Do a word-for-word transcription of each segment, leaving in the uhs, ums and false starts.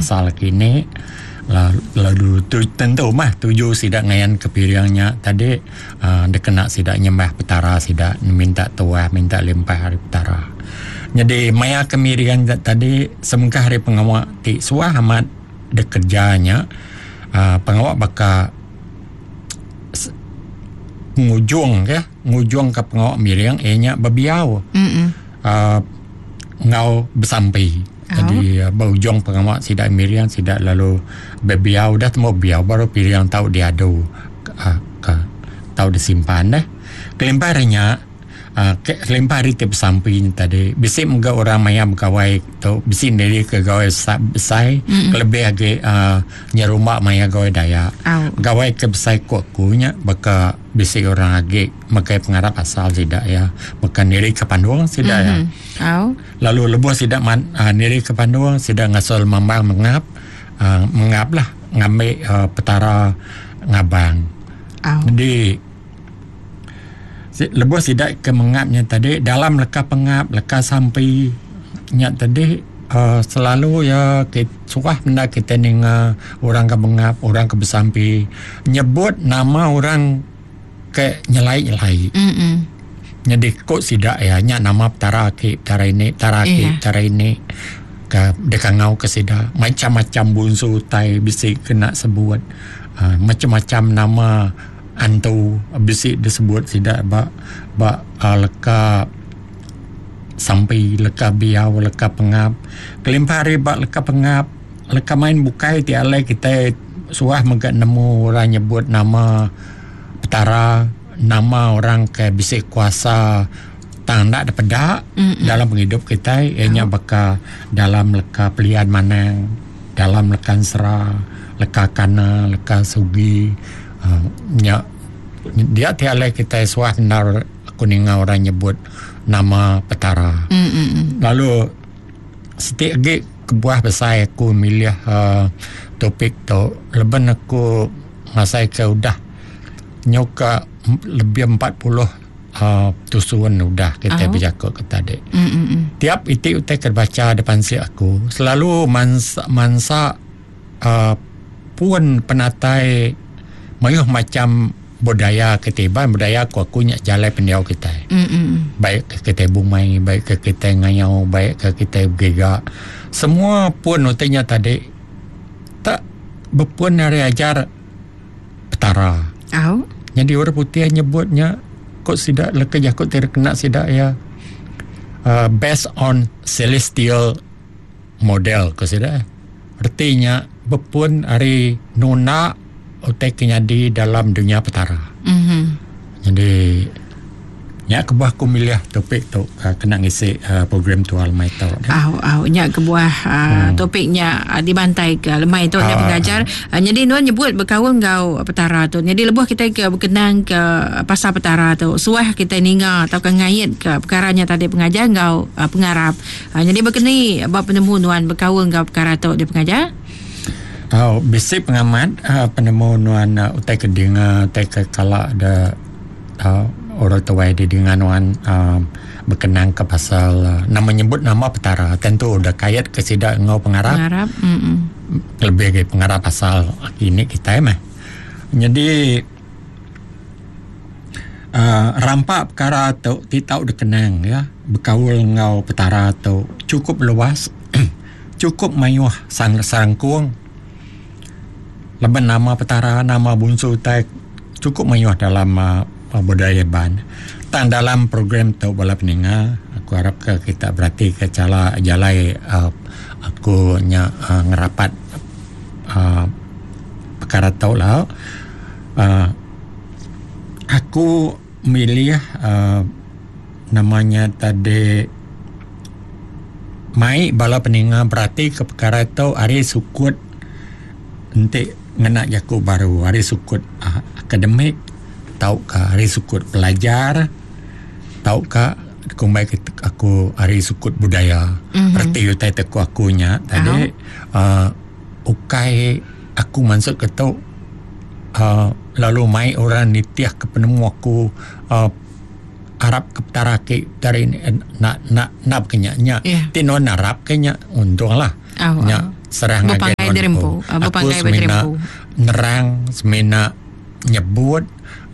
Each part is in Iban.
asal kini lalu tu, tentu mah tuju sida ngayan ke piringnya tadi uh, dikena sida nyembah petara sida minta tuah minta limpah hari petara. Jadi maya kemirian tadi semengkah hari pengawa ti suah amat dikerjanya uh, pengawa baka ngujung ke ngujung ke pengawa miring ianya bebiau uh, ngau besampi. Jadi oh. Berujung pengawa sida miring sida lalu bebiau dah temu biau baru piring tau diadu uh, ke tau disimpan deh. Kelimpah harinya uh, kelimpah hari ti besampi tadi bisi mega orang maya begawai tu bisi ndiri ke gawai besai mm-hmm. Kelebih agi uh, nyerumba maya gawai Dayak. Oh. Gawai ke besai ku aku nya baka bisi orang agi makai pengarap asal sida ya baka niri ke pandung sida mm-hmm. ya. Oh. Lalu lebuh sida man, uh, niri ke pandung sida ngasal mambang mengap uh, mengap lah ngambil uh, petara ngabang. Oh. Jadi lebuh sida ke mengapnya tadi dalam leka pengap leka sampi nya tadi uh, selalu ya kita, suah benda kita ninga orang ke mengap orang ke besampi nyebut nama orang ke nyelai-nyelai. Mm-mm. Jadi kok sida ya nya nama petara ki petara ini petara ki yeah. Petara ini ke dekangau ke sida macam-macam bunsu utai bisi kena sebut uh, macam-macam nama antu bisi disebut sida ba ba uh, leka sampai leka biau leka pengap. Kelimpah hari ba leka pengap leka main bukai ti alai kita suah mega nemu orang nyebut nama petara nama orang ke bisi kuasa tang ndak depeda dalam penghidup kita ianya oh. Baka dalam leka pelian manang dalam leka sera leka kana leka sugi uh, nya dia ti alai kita suah benar aku ninga orang nyebut nama petara. Mm-mm. Lalu setiap agi kebuah besar aku milih uh, topik tu leben aku ngasai ke udah nyoka lebih empat puluh uh, tusun udah kita oh. Bercakap ke tadi. Mm-mm. Tiap itik utai ke baca depan si aku selalu mansa mansa uh, pun penatai mayuh macam budaya ketiban budaya aku aku nyak jalai pendiau kita. Mm-mm. Baik ke kita bumai, baik ke kita ngayau, baik ke kita bergerak. Semua pun utainya tadi tak berpun dari ajar petara. Oh. Jadi orang putih nyebutnya kok sidak leka jakut terkena sidak ya uh, based on celestial model ke sidak. Artinya berpun hari nuna utai kenyadi dalam dunia petara. Mm-hmm. Jadi nya kebuah aku milih topik tu uh, kena ngisi uh, program tu lemai tu. Au au nya kebuah uh, hmm. topiknya uh, dibantai ke lemai tu uh, pengajar. Uh, jadi nuan nyebut berkaul ngau petara tu. Jadi lebuh kita ke berkenang ke pasal petara tu. Suah kita ninga atau ke ngait ke perkaranya tadi pengajar ngau uh, pengarap. Uh, jadi berkeni bab penemu nuan berkaul ngau perkara tu di pengajar. Oh, bisi pengamat uh, penemu nuan uh, utai ke dengar utai ke kala ada uh, orang tua di dengan nuan uh, berkenang ke pasal uh, nama nyebut nama petara tentu udah kait ke sidak ngau pengarap. Pengarap. Mm-mm. Lebih ke pengarap pasal ini kita mah. Jadi uh, rampak perkara tu ti tau dikenang ya berkaul ngau petara tu cukup luas cukup mayuh sang sarangkung. Laban nama petara, nama bunsu utai cukup mayuh dalam uh, budaya ban. Tang dalam program tu bala peninga, aku harap ke kita berarti ke cala jalai uh, aku nya uh, ngerapat uh, perkara tu lah. Uh, aku milih uh, namanya tadi mai bala peninga berarti ke perkara tu hari sukut entik ngena jaku baru hari sukut uh, akademik tau ke hari sukut pelajar tau ke kumbai aku hari sukut budaya. Mm-hmm. Reti utai teku akunya tadi uh, ukai aku masuk ke tu uh, lalu mai orang nitiah ke penemu aku uh, Arab ke petara ke dari nak nak nak kenyaknya yeah. Ti non Arab kenya untunglah oh, nya oh. serah ngagai nuan. Aku semina nerang, semina nyebut,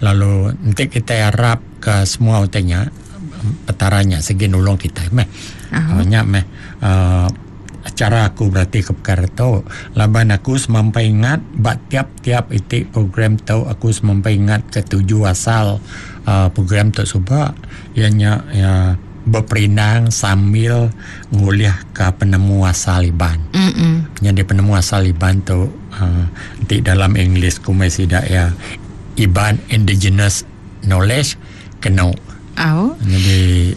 lalu nanti kita harap ke semua utainya petaranya segi nulung kita meh. Uh-huh. Nya meh uh, cara aku berarti ke perkara tu laban aku semampai ingat bak tiap-tiap itik program tu aku semampai ingat ke tuju asal uh, program tu subak ianya ya berperindang sambil nguliah ke penemu asal Iban. Mm-mm. Jadi penemu asal Iban tu uh, di dalam English kumai sidak ya Iban Indigenous Knowledge kena. Oh. Jadi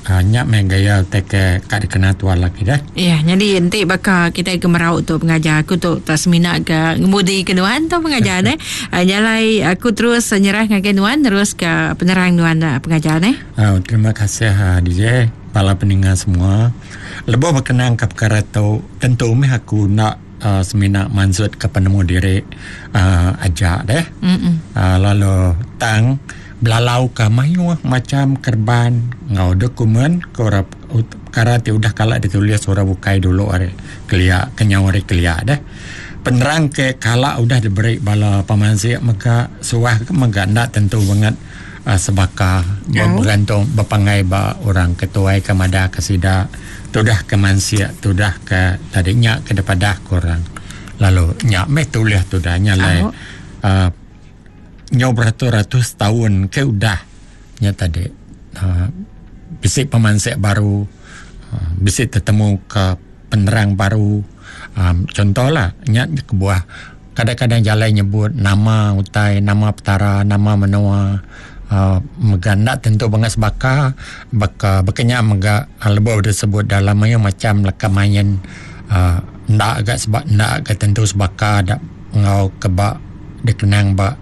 uh, nyak main gaya teke kat dikena tuan lagi dah. Ya, jadi nanti bakal kita ke merau tu pengajar aku tu tak semina ke ngemudi ke nuan tu pengajar ne. Uh, nyalai aku terus nyerah ngagai nuan terus ke penerang nuan pengajar ne. Uh, terima kasih uh, D J para pendengar semua. Lebuh berkenaan ke perkara tu tentu meh aku nak uh, semina mansut ke penemu diri uh, ajak deh. Uh, lalu tang belalau ke mayuh macam kerban ngau dokumen ke perkara ti udah kalak ditulis orang bukai dulu ari kelia kenyau ari kelia deh. Penerang ke kalak udah diberi bala pemansik mega suah ke mega ndak tentu banget uh, sebaka oh. Bergantung berpangai ba orang ketuai ke madah ke sida tudah ke mansia tudah ke tadinya ke depadah korang lalu nyak meh tulis tudah nya lai oh. uh, nyo beratus-ratus tahun ke udah nya tadi uh, bisik pemansik baru uh, bisik tetemu ke penerang baru um, contohlah nya kebuah kadang-kadang jalan nyebut nama utai nama petara nama menua uh, mega ndak tentu bangas baka baka bekenya mega uh, lebih disebut dalam mayu macam leka main uh, ndak agak sebab ndak agak tentu sebaka dak ngau kebak dikenang bak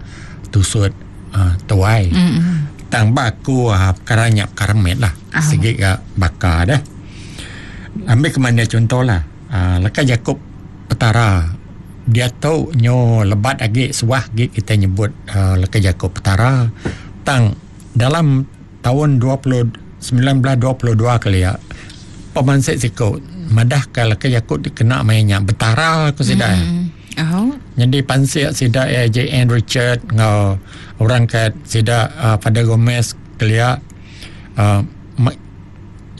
tusut uh, tuai. Mm-hmm. Tang baku uh, perkara nyak perkara met lah. Oh. Segi ke bakar dah. Ambil ke mana contoh lah. Uh, leka Jakob Petara. Dia tu nyo lebat agi suah agi kita nyebut uh, leka Jakob Petara. Tang dalam tahun dua puluh sembilan belas dua puluh dua kali ya. Pemansik siko madah ke leka Jakob dikena mainnya Betara aku sidak. Mm-hmm. Oh. Jadi pansik sida eh, J N Richard ngau orang kat sida uh, pada Gomez kelia uh, ma-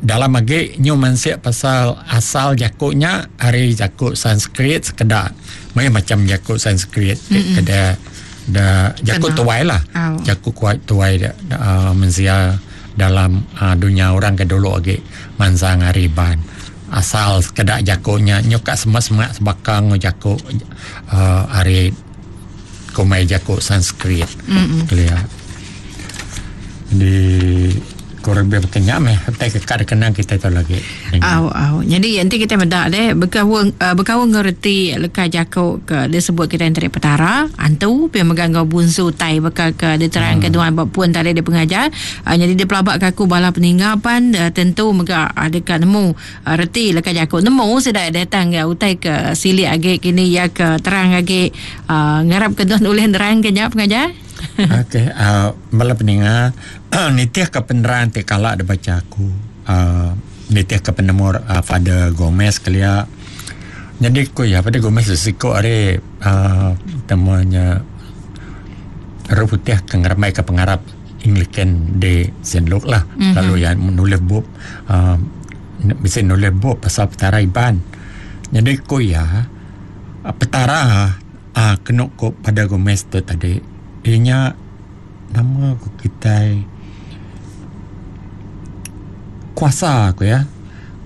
dalam agi nyu mansik pasal asal jakuknya hari jakuk Sanskrit sekedak mai macam jakuk Sanskrit mm-hmm. Keda da jakuk tuai lah. Oh. Jakuk kuat tuai da, uh, mensia dalam uh, dunia orang ke dulu agi mansang hariban asal sekedak jakuknya nyuka semak-semak sebakang jakuk uh, hari kumai jakuk Sanskrit. Mm-mm. Kelia. Di kurang lebih berkenyam eh tak kekar kenang kita tu lagi. Au au. Jadi nanti kita medak deh berkawung uh, berkawung ngerti leka jakuk ke disebut kita antara petara antu pi megang ngau bunsu tai bekal ke diterang hmm. Kedua bab pun tadi dia pengajar. Uh, jadi dia pelabak kaku bala peninggal pan uh, tentu mega uh, dekat nemu uh, reti leka jakuk nemu sudah datang ke utai ke silik agi kini ya ke terang agi uh, ngarap ke tuan ulih nerang ke nya pengajar. Okey, uh, bala pendengar, nitih ke penerang ti kalak dia baca aku. Uh, nitih ke penemu uh, Father Gomez kelia. Jadi aku ya Father Gomez sesiko ari uh, temuannya Roh Putih ke ngeramai ke pengarap Anglican di Saint Luke lah. Mm-hmm. Lalu yang menulis bup uh, bisa nulis bup pasal petara Iban. Jadi aku ya petara uh, kena ko pada Gomez tu tadi. Ianya nama aku kita kuasa aku ya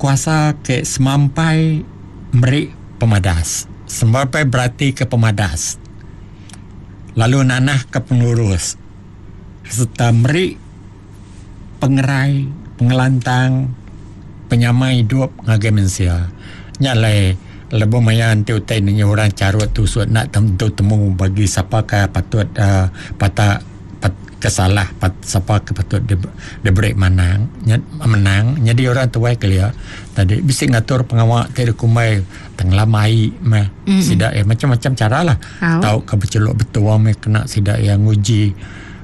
kuasa ke semampai meri pemadas semampai berarti ke pemadas lalu nanah ke pengurus serta meri pengerai pengelantang penyamai hidup ngagai manusia nyalai lebuh maya nanti utai ni orang carut tusut nak tentu temu bagi siapa ke patut uh, patah pat, kesalah pat, siapa ke patut di, diberi menang menang jadi orang tuai kelia tadi bisa ngatur pengawak tiada kumai tenglamai meh mm-hmm. Sidak eh macam-macam cara lah oh. Tahu ke berceluk betul meh kena sidak yang nguji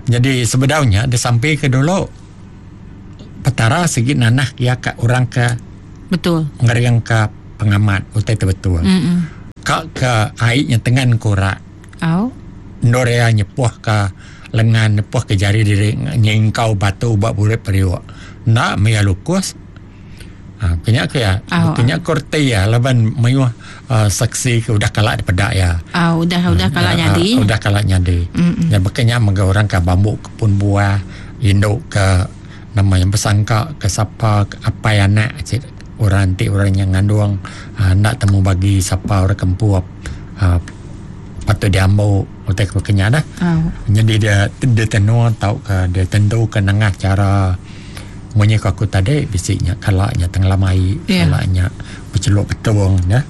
jadi sebenarnya dia sampai ke dulu petara segi nanah ya ke orang ke betul ngeriang ke pengamat utai tu betul. Mm-mm. Ka ke ai nya tengan korak. Au. Ndorea nyepuh ke lengan nyepuh ke jari diri nyingkau batu ba burit periuk. Nak maya lukus. Ha, kenya ke ya, oh, kenya kurti ya, laban mayuh uh, saksi ke udah kalak dipedak ya. Ah, oh, udah udah kalak uh, nyadi. Uh, udah kalak nyadi. Ya bekenya mega orang ke bambu kebun buah, induk ke nama yang bersangka ke siapa ke apai anak cik, orang ti orang yang ngandung uh, nak temu bagi siapa orang kempu uh, patut diambil utai ke kenya dah. Oh. Jadi dia dia tentu tau ke dia tentu ke nengah cara munyi aku tadi bisiknya kalaknya tenggelam air, yeah. Kalaknya berceluk betung ya.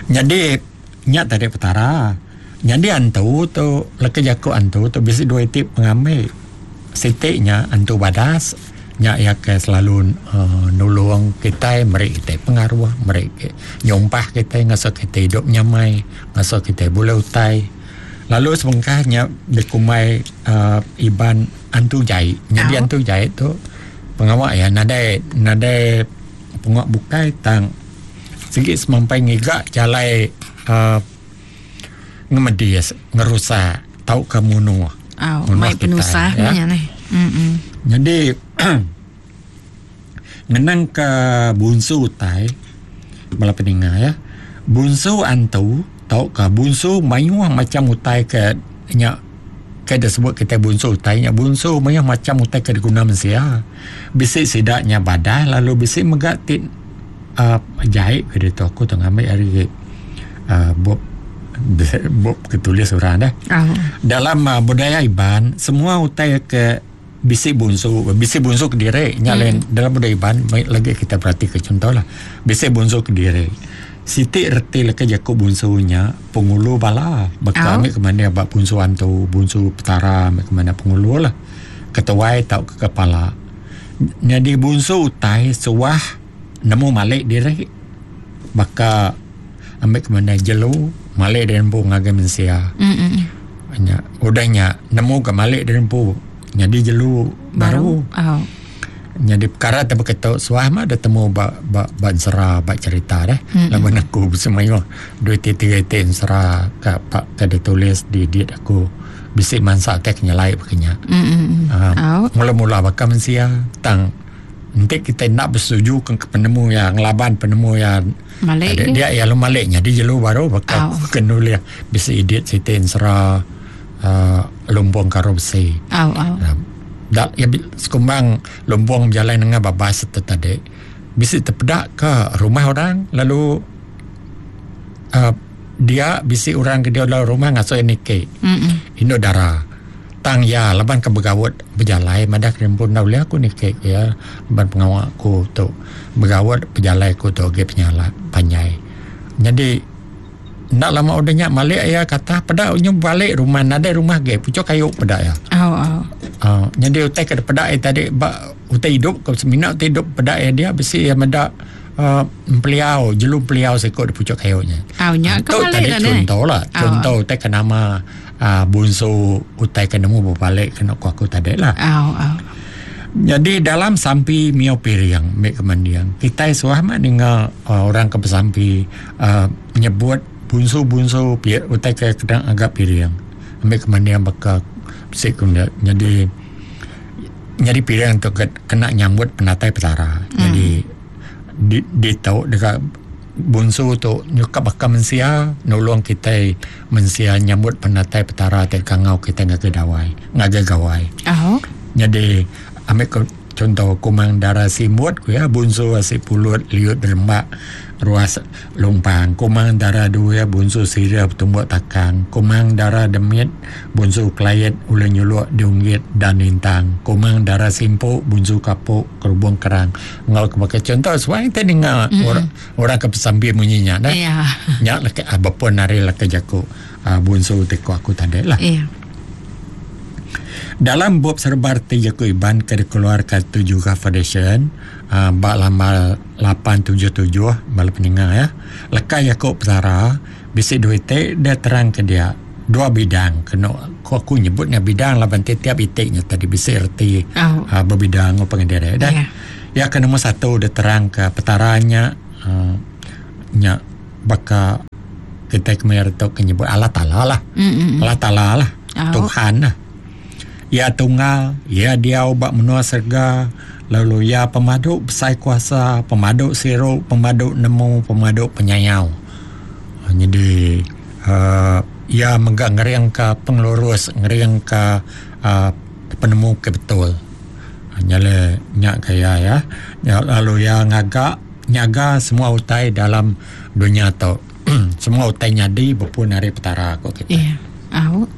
Jadi nyak tadi petara. Jadi antu tu leka jaku antu tu bisik dua tip pengambil. Sitiknya antu badas nyak ya ke selalu uh, nulung kita meri kita pengaruh meri nyompah kita ngasa kita hidup nyamai ngasa kita boleh utai. Lalu sebengkahnya dikumai uh, iban antu jai. Jadi oh. Antu jai tu pengawak ya nadai nadai pengawak bukai tang segi semampai ngigak jalai uh, ngemedis ngerusak tau ke munuh. Oh, mai penusah ya. Ni. Mm-mm. Jadi ngenang ke bunsu utai bala peninga ya. Bunsu antu tau ke bunsu mayuh macam utai ke nyak ke disebut kita bunsu utai nya bunsu mayuh macam utai ke diguna mensia. Bisik sidaknya badah lalu bisik megak ti uh, jahit ke dia tu aku tu ngambil hari uh, bup bup ketulis orang dah. Oh. Dalam uh, budaya Iban semua utai ke bisik bunsu bisik bunsu ke diri nya Hmm. lain dalam budaya Iban lagi kita perhati ke contohlah bisik bunsu ke diri. Siti reti leka jaku bunsunya pengulu bala bakal Oh. ambil ke mana bak bunsu antu bunsu petara ambil ke mana pengulu lah ketuai tau ke kepala. Jadi bunsu utai suah nemu malik diri baka ambil ke mana jelu malik dari empu ngagai mensia. Mm-mm. Nya udahnya nemu ke malik dari empu jadi jelu baru. Baru. Oh. Jadi perkara tak berketuk suah mah ada temu ba ba ba sera ba cerita dah. Mm-mm. Laban aku semayuh dua tiga tiga sera ka pak ka ditulis di diet aku bisik mansak tek nyelai bekenya. Mm-mm. Uh, Oh. mula-mula bakal mensia tang nanti kita nak bersetuju ke penemu yang laban penemu yang Malik ada, ke? dia ya lu maliknya dia jelu baru bakal Oh. kenulis bisik edit siti sera uh, lumpung karo besi. Oh, oh. Uh, dak ya sekumbang lumbung berjalan dengan babas tu tadi bisik terpedak ke rumah orang lalu uh, dia bisik orang ke dia dalam rumah ngasuh nike Mm-mm. indo dara tang ya laban ke begawat berjalai madah kerimpun dah boleh aku nike ya laban pengawak aku tu begawat berjalai aku tu ge penyala panjai. Jadi nak lama udahnya malik ya kata pedak nyu balik rumah nadai rumah ge pucuk kayu pedak ya. Oh, oh. Uh, jadi utai ke pedak eh, tadi ba, utai hidup ke semina utai hidup pedak eh, dia besi yang medak uh, peliau jelu peliau sekok di pucuk kayunya. Oh, nya ke Tu balik tadi dah ni. contoh lah Oh. contoh utai ke nama uh, bunsu utai ke nemu berbalik kena ku aku tadi lah. Oh, oh. Jadi dalam sampi mio piriang mek kemandiang kita suah mak dengar uh, orang ke bersampi uh, menyebut bunsu-bunsu pi, utai ke kedang agak piriang ambil kemandiang bakal sik kena jadi jadi piriang tu ke, kena nyambut penatai petara. Hmm. Jadi di, di tahu dekat bunsu tu nyukap bakal mensia nolong kita mensia nyambut penatai petara te kangau kita ngagai dawai ngagai gawai. Oh. Jadi ambil ke, contoh kumang darah simut ku ya bunsu asik pulut liut derembak ruas lumpang kumang darah dua bunsu sirah bertumbuk takang kumang darah demit bunsu kelayat ulun nyuluk diunggit dan lintang kumang darah simpuk bunsu kapuk kerubung kerang ngau kebakai contoh sebab kita dengar mm-hmm. orang orang ke pesambi bunyinya dah Ya. nyak leke abapun nari leke jaku uh, bunsu teko aku tadi lah. Ya. Dalam bab serbarti Jaku Iban ke dikeluarkan Tujuh Foundation uh, bak lama lapan tujuh tujuh bala pendengar ya. Lekai Jaku Petara bisik duit dia terang ke dia dua bidang kena aku, aku nyebutnya bidang laban tiap itiknya tadi bisik erti Oh. uh, berbidang apa dengan dia dah. Ya. Ya ke nombor satu dia terang ke petaranya uh, nya baka kita kemaya tu ke nyebut Allah Taala lah. Mm-mm. Allah Taala lah. Oh. Tuhan lah. Ia tunggal, ia diau bak menua serga, lalu ia pemadu besai kuasa, pemadu siru, pemadu nemu, pemadu penyayau. Jadi uh, ia mega ngering ke pengelurus, ngering ke uh, penemu ke betul. Nyale nyak kaya ya. Lalu ia ngagak nyaga semua utai dalam dunia tu. Semua utai nyadi berpun hari petara ko kita. Iya. Au.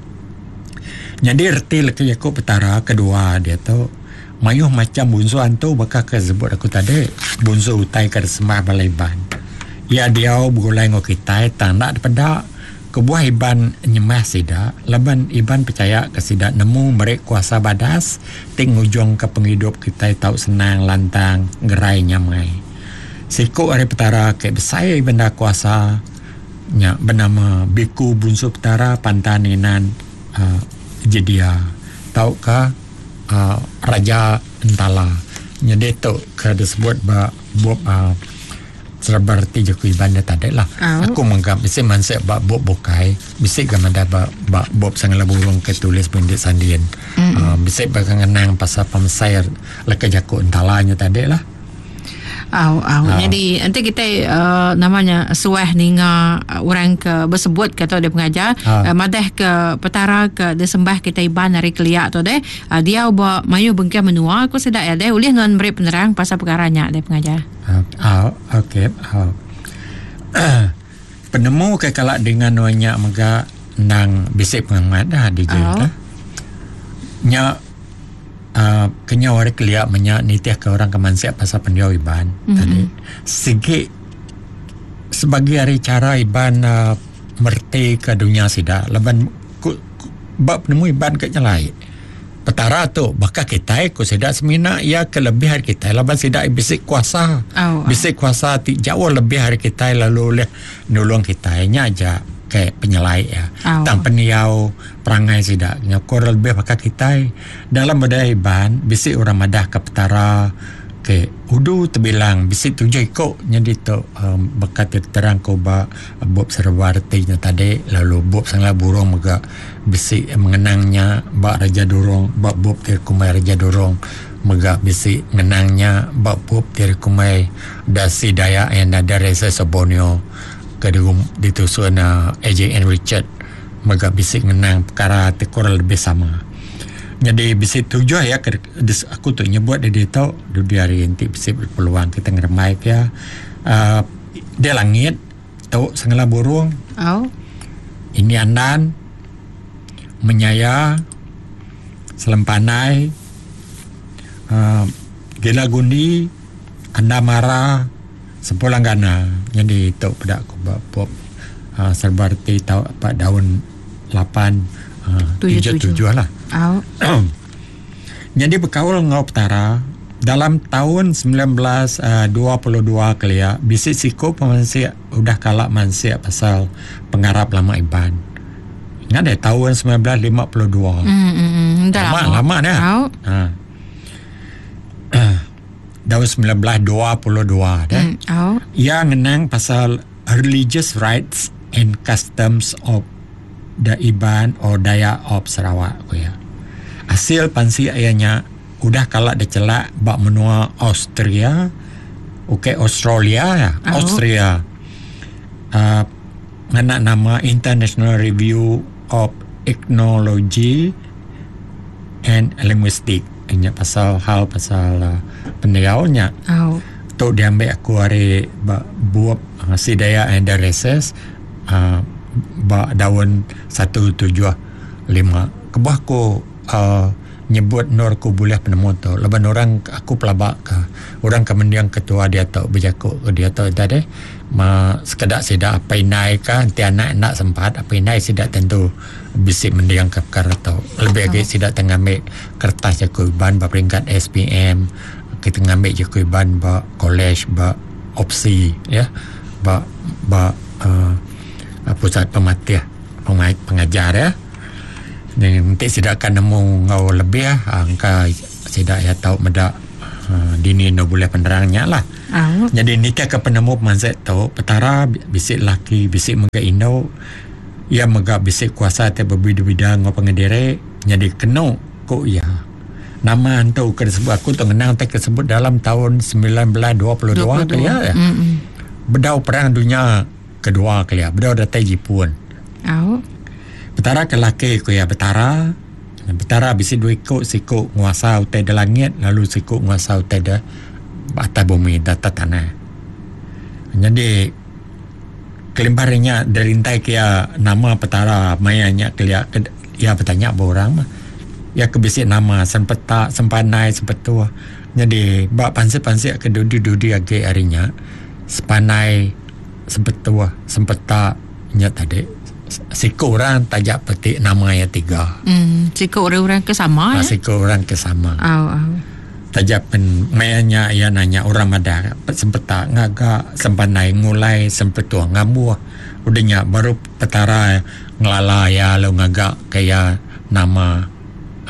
Jadi erti leki aku petara kedua dia tu mayuh macam bunsu antu bakal ke sebut aku tadi bunsu utai ke sembah balai iban. Ya dia begulai ngau kita tang nak daripada kebuah iban nyemah sida laban iban percaya ke sida nemu merek kuasa badas ting ujung ke penghidup kita tau senang lantang gerai nyamai. Siku hari petara ke besai benda kuasa nya bernama Biku Bunsu Petara Pantaninan uh, Jedia tauka uh, Raja Entala. Jadi tu ke disebut ba bup uh, serba reti jaku Iban dia tadi lah. Oh. Aku menganggap bisi mansik ba bup bukai, bisi ga madah ba, ba bup Sangala Burung ke tulis Bendit Sandin. Mm-hmm. Uh, bisi ba ngenang pasal pemesai leka jaku Entala nya tadi lah. Au, au. Jadi nanti kita uh, namanya suah ninga uh, orang ke bersebut kata dia pengajar ha. uh, madah ke petara ke disembah kita iban hari keliak tu deh. Uh, dia buat mayu bengkah menua aku sedak ya deh. Ulih non beri penerang pasal perkaranya deh pengajar. Ah, uh, okey. Uh. Penemu ke kalak dengan banyak mega nang bisik pengamat dah di je dah. Nya Uh, kenya orang keliak menyak nitih ke orang ke mansiak pasal pendiau iban mm-hmm. tadi segi sebagai hari cara iban uh, merti ke dunia sida laban ku, ku, bab penemu iban ke nyelai petara tu bakal kita ku sida semina ia kelebihan kita laban sida bisik kuasa oh, bisik kuasa ti jauh lebih hari kita lalu oleh nulung kita nya aja ke penyelai ya. Oh. Tang peniau perangai sida nyokor lebih bakal kita dalam budaya iban bisik orang madah ke petara ke udu terbilang bisik tujuh ikok jadi tu um, bekat terang ko ba bup serba artinya tadi lalu bup Sangla Burung mega bisik mengenangnya ba Raja Durong ba bup Tirkumai Raja Durong mega bisik mengenangnya ba bup Tirkumai Dasi Dayak and ada Reza Sobonio ke ditusun uh, A J N Richard mega bisik ngenang perkara kurang lebih sama. Jadi bisik tujuh ya ke, dis, aku tu nyebut dia dia tahu di hari nanti bisik berpeluang kita ngeremai ya. Uh, dia langit tau Sangla Burung. Oh. Ini andan menyaya selempanai uh, gila gundi anda marah sempulang gana. Jadi itu pada aku buat uh, serba reti tau apa daun lapan uh, tujuh tujuh lah. Oh. Jadi berkaul ngau petara dalam tahun sembilan belas dua puluh dua kelia bisik siku pemansiak udah kalak mansiak pasal pengarap lama iban. Ingat deh tahun sembilan belas lima puluh dua. Mm, mm, mm. Dah lama lama, lama dah. Oh. Ha. Tahun sembilan belas dua puluh dua dah. Mm, oh. Ia ngenang pasal religious rites and customs of the Iban or Dayak of Sarawak ko ya. Hasil pansi ayahnya udah kalak dicelak bak menua Austria, okey Australia ya, Oh. Austria. Uh, ngena nama International Review of Ethnology and Linguistics. Nya pasal hal pasal uh, pendiaunya. Oh. Tu diambil aku hari ba buap uh, Si Dayak and the Races uh, ba daun satu tujuh lima. Kebuah aku uh, nyebut nur aku boleh penemu tu. Laban orang aku pelabak ke orang ke mendiang ketua dia tu berjakuk ke dia tu tadi ma sekedak sida apa inai ka nanti anak nak sempat apa inai sida tentu bisik mendiang ke perkara tu. Lebih lagi sida tengah ambil kertas jaku iban ba peringkat S P M, kita ngambil jaku iban ba college ba opsi ya ba ba uh, pusat pematih pengajar ya. Nanti sida akan nemu ngau lebih angka sida ya tau medak uh, dini no boleh penerangnya lah. Oh. Jadi nitih ke penemu pemansik tu petara bisi laki bisi mega indu ia mega bisi kuasa ti berbida-bida ngau pengediri jadi kenu ku ia. Nama antu ke disebut aku tu ngenang te kesebut dalam tahun sembilan belas dua puluh dua kelia ya. Mm-hmm. Bedau perang dunia kedua kelia, bedau datai Jepun. Oh. Petara ke laki ku ia betara. Petara bisi dua ikut, siku nguasa utai di langit lalu siku nguasa utai di atas bumi, di atas tanah. Jadi kelimparnya derintai kia nama petara mayanya kelia ia bertanya orang mah. Ya kebisik nama sempeta sempanai sempetua. Jadi bak pansik-pansik ke dudi-dudi age harinya sepanai sempetua sempeta nya tadi siku orang tajak petik nama ya tiga. Hmm, siku orang-orang ke sama ha, ya. Siku orang ke sama. Oh, oh. Tajak pen mayanya ia nanya orang madah sempeta ngaga sempanai ngulai sempetua ngambuh. Udahnya baru petara ngelala ya lalu ngaga kaya nama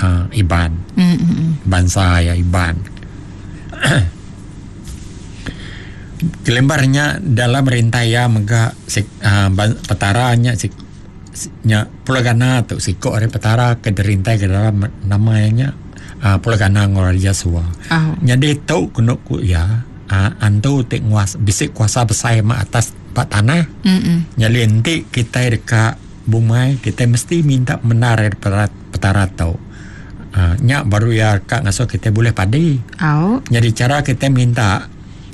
Uh, Iban. Mm-hmm. Bangsa ya Iban. Kelembarnya dalam rintai ya mega sik, uh, petaranya sik, nya pulagana tu siko ari petara ke derintai ke dalam namanya uh, pulagana ngoraja sua. Oh. Jadi tu kena ku ya uh, antu ti nguas bisik kuasa besar ma atas pak tanah. Mm-hmm. Jadi enti kita dekat bumai kita mesti minta menar dari petara, petara tu. Uh, nyak baru ya kak ngasuh kita boleh padi. Oh. Jadi cara kita minta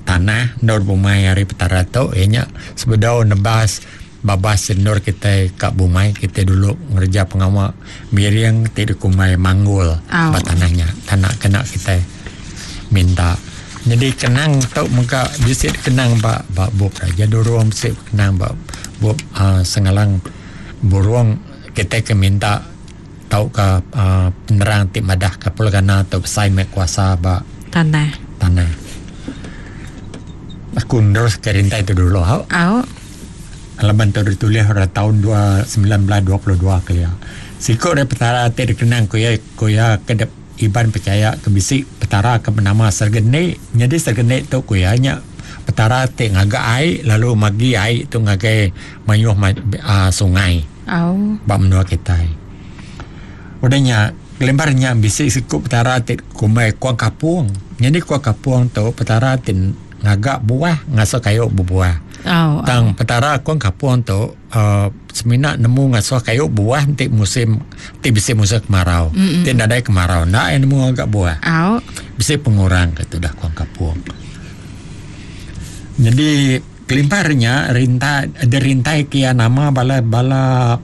tanah ndor bumai hari petara tu ya nyak sebedau nebas babas ndor kita kak bumai kita dulu ngerja pengawak miring ti dikumai manggul oh. Ba tanahnya tanah kena kita minta. Jadi kenang tu muka bisik kenang ba ba bub raja dorong bisik kenang ba bub uh, sengalang burung kita ke minta tau ke uh, penerang ti madah ke pulgana atau besai mek kuasa ba tanah tanah. Aku terus ke rintai tu dulu hau. Au. Alaban tu ditulis pada tahun sembilan belas dua puluh dua kelia. Siko dari petara ti dikenang ku ya ku ya ke Iban percaya ke bisi petara ke bernama Sergeni. Jadi Sergeni tu ku ya nya petara ti ngaga ai lalu magi ai tu ngagai mayuh uh, sungai. Au. Ba menua kita. Udahnya kelembarnya bisi sikup petara ti kumai kuang kapung. Jadi kuang kapung tu petara ti ngagak buah ngasuh kayu berbuah. Oh, tang petara kuang kapung tu uh, semina nemu ngasuh kayu buah ti musim ti bisi musim kemarau. Mm-mm. Ti nadai kemarau nak nemu ngagak buah. Oh. Bisi pengurang ke tu dah kuang kapung. Jadi kelimparnya rintai ada rintai kia nama bala bala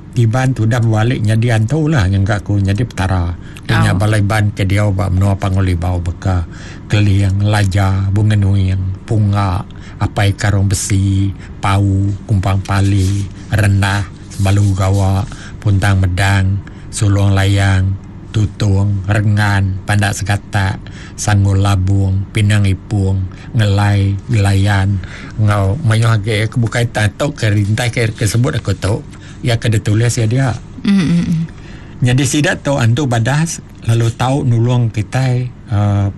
Iban tu dah berbalik jadi antu lah yang kat aku jadi petara. Dia oh. Bala Iban ke dia ba menua Pangulibau beka Keliang, Laja, Bunga Nuing, Punga, Apai Karung Besi, Pau, Kumpang Pali, Rendah, Balu Gawa, Puntang Medang, Sulung Layang, Tutung, Rengan, Pandak Segatak, Sanggul Labung, Pinang Ipung, Ngelai, Gelayan, ngau mayuh age kebukaitan tok ke rintai ke kesebut aku tok. Ya kena tulis ya dia. Mm-hmm. Jadi sidak tu antu badas lalu tahu nulung kita uh,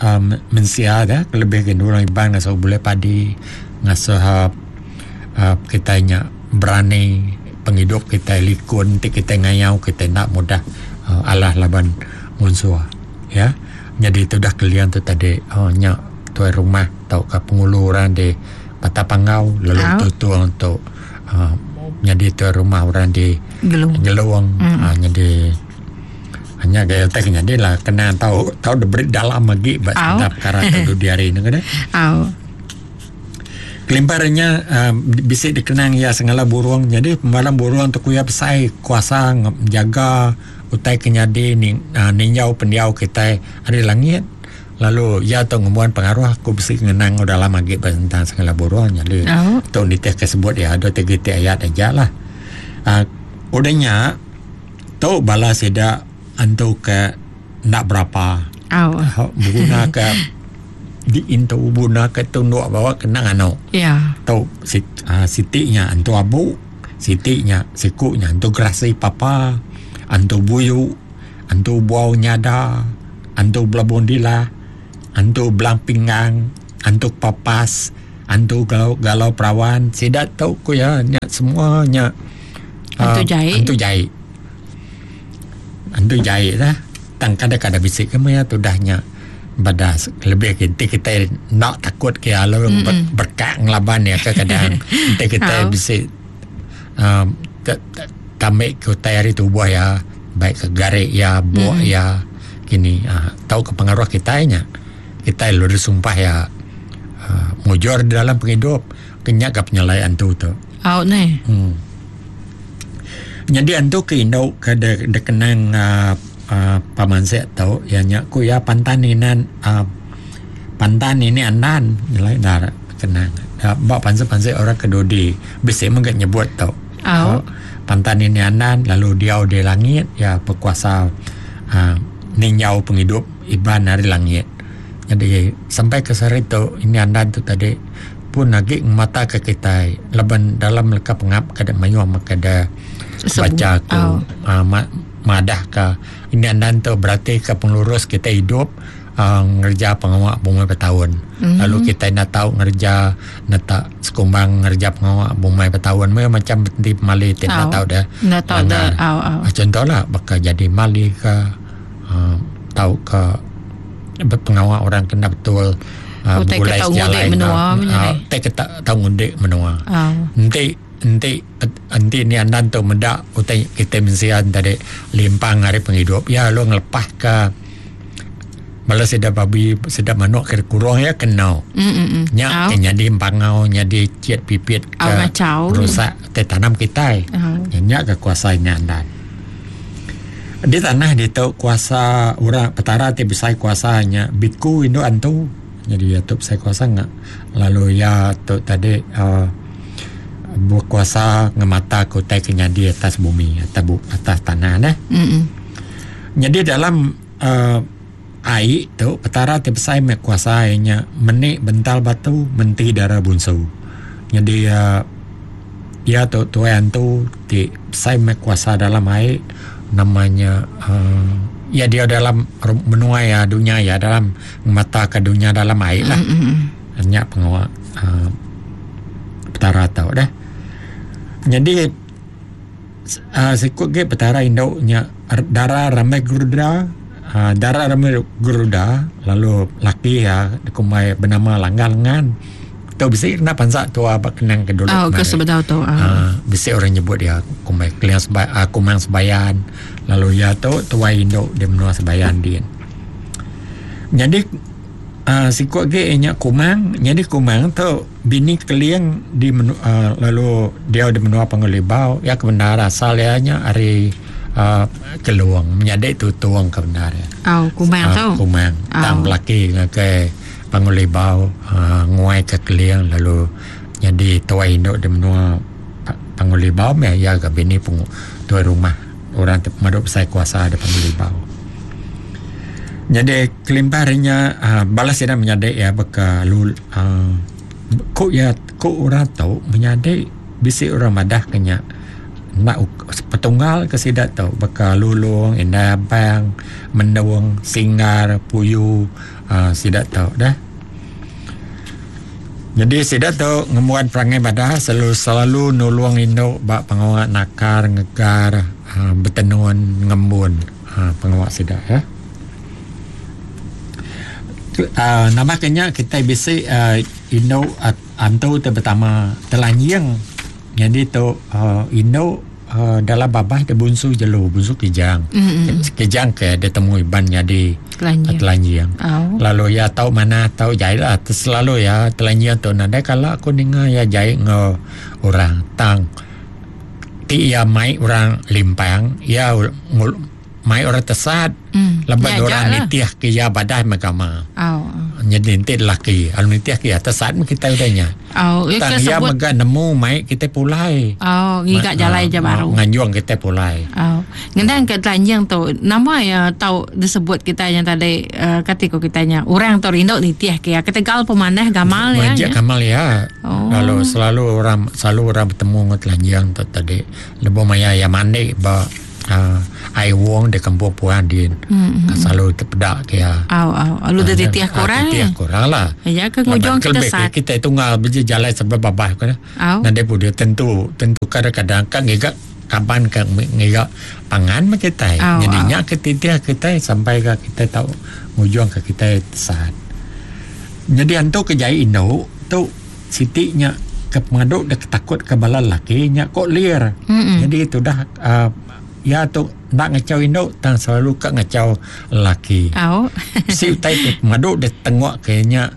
um, mensia dah lebih ke nulung Iban ngasuh boleh padi ngasuh uh, uh, kita nya berani penghidup kita likun ti kita ngayau kita nak mudah uh, alah laban musuh ya. Jadi itu dah kalian tu tadi oh, nya tuai rumah tau ke pengulu orang di Patapangau lalu oh. tutu untuk uh, jadi tu rumah orang di Gelung. Gelung. Mm. Ha, jadi hanya gaya tak jadi lah kena tahu tahu diberi dalam lagi bab oh. perkara tu di hari ni kan. Oh. Kelimparnya uh, bisik dikenang ya sengala burung. Jadi pembalam burung tu kuya besai kuasa menjaga utai kenyadi ni uh, ninjau pendiau kita hari langit. Lalu ya tu ngemuan pengaruh aku besi ngenang dalam lagi tentang segala burung jadi oh. tu nitih kesebut ya ada tiga tiga ayat aja lah. Uh, udahnya tu bala sida antu ke nak berapa. Oh. Guna ke di intu guna ke tunduk bawa kenang anu. Ya. Tu sit, uh, sitiknya antu abu, sitiknya sikunya antu gerasi papa, antu buyu, antu buau nyada, antu belabun dila, antu belang pinggang, antu papas, antu galau, galau perawan, sidak tau ku ya nya semuanya antu uh, jai. Antu jai. Antu jai lah. Tang kada-kada bisik ke maya tudahnya badas lebih kita kita nak takut ke lalu mm-hmm. ber, berkak ngelaban ya kadang kita kita bisik um, tambik ke utai hari tubuh ya baik ke garik ya buak mm-hmm. ya kini uh, tahu ke pengaruh kita nya kita lalu disumpah ya uh, mujur dalam penghidup kenyak ke penyelai antu tu out ni hmm. Jadi antu ke induk ke de, de kenang uh, Uh, pamansek tau ya nya ku ya pantan inan uh, pantan ini andan nilai dar kenang uh, bak panse-panse orang kedodi bisa mengget nyebut tau oh. Uh, pantan ini andan lalu diau di langit ya berkuasa uh, ninjau penghidup iban dari langit. Jadi sampai ke sehari tu ini andan tu tadi pun lagi mata ke kita laban dalam leka pengap kada mayu kada baca ku oh. uh, ma- madah ke ini andan tu berarti ke penglurus kita hidup uh, ngerja pengawak bumai bertahun. Mm-hmm. Lalu kita nak tahu ngerja nak tak sekumbang ngerja pengawak bumai bertahun macam di mali tidak oh. tahu dah. Nak tahu dah. Oh, oh. Contohlah bakal jadi mali ke uh, tahu ke pengawak orang kena betul uh, begulai sejalai menua uh, tak tahu ngundik menua. Oh. Nanti enti enti ni andan tu mendak utai kita mensian tadi limpang hari penghidup ya lu ngelepah ke malah sedap babi sedap manuk ke kurung ya kena mm nya oh. Nyadi pangau nyadi ciet pipit ke oh, rusak te tanam kita oh. Nya ke kuasa nya andan di tanah di tu kuasa orang petara ti besai kuasanya biku induk antu jadi ya tu besai kuasa ngak lalu ya tu tadi uh, berkuasa ngemata kutai kenyadi atas bumi atas bu, atas tanah nah. Mm-mm. Jadi dalam uh, air tu petara ti besai mek kuasa nya menik bental batu menti darah bunsu. Jadi uh, ya tu tuan tu ti besai mek kuasa dalam air namanya uh, ya dia dalam menua ya dunia ya dalam mata ke dunia dalam air lah. Mm-mm. Hanya pengawak uh, petara tau dah. Jadi uh, sikut ke petara induknya darah ramai geruda, uh, darah ramai geruda lalu laki ya kumai bernama Langgar Lengan. Tu bisi kena pansak tua bak kenang ke dulu. Oh, ke sebedau tu. Uh. Uh, bisi orang nyebut dia kumai keliang seba, uh, kumang sebayan. Lalu ya tu tua induk dia menua sebayan dia. Jadi Uh, sikut ke nya kumang, jadi kumang tu bini keliang di menu, uh, lalu dia di menua Panggulibau ya kebenar asal ya nya ari uh, keluang menyadik tu tuang kebenar ya. Oh, kumang uh, tu. Kumang oh. Tang laki ke Panggulibau uh, nguai ke keliang lalu jadi tua induk di menua Panggulibau ya ya ke bini pung tuai rumah orang maduk besar kuasa di Panggulibau. Jadi kelimpahnya uh, balas dia menyadik ya beka lu uh, kok ya kok orang tahu menyadik bisi orang madah kenya nak petunggal ke sidak tahu beka lulung indah abang mendung singar puyu uh, sidak tahu dah. Jadi sidak tahu ngemuan perangai badah selalu selalu nulung induk bak pengawak nakar ngegar uh, bertenun ngembun uh, pengawak sidak ya. Uh, nama kenya kita bisi uh, induk uh, antu tu pertama telanjang. Jadi tu uh, induk uh, dalam babah dia bunsu jelu bunsu kijang. Mm-hmm. Kijang ke dia temu iban jadi telanjang. Telanjang. Oh. Lalu ya tahu mana tahu jahit lah selalu ya telanjang tu nadai kalau aku dengar ya jahit ngo orang tang ti ya mai orang limpang ya ngul, mai orang tesat mm. lepas ya, orang lah. nitiah ke ya badah magama. Oh. Jadi nanti laki al nitiah ke ya tesat kita udahnya. Oh, tang ya mega nemu mai kita pulai. Oh, ngiga jalai je baru. Nganjuang kita pulai. Oh. Ngendang ke telanjang tu nama ya tau disebut kita yang tadi uh, kata ko kitanya orang tu rindu nitiah ke ya ketegal pemanah gamal ya. Manjak gamal ya. Oh. Lalu selalu orang selalu orang bertemu dengan telanjang tu tadi. Lebuh maya ya mandi ba Uh, ai wong di kampung puan din. Mm-hmm. Selalu terpedak ke ya. Au au. Lalu dia titiah kurang. Titiah kurang lah. Ya ke ngujung kita sat. Kita tunggal berjalan sebab babah kan. Nanti pun dia tentu tentu kadang-kadang kan ngigak kapan kan ngigak pangan mah kita. Jadinya ke titiah kita sampai ke kita tahu ngujung ke kita sat. Jadi antu kejai induk tu sitiknya ke pengaduk dah takut ke bala laki nya kok liar. Mm-mm. Jadi itu dah uh, ya tu nak ngacau induk tang selalu kak ngacau laki. Oh. Si utai tu pengaduk dah tengok kayaknya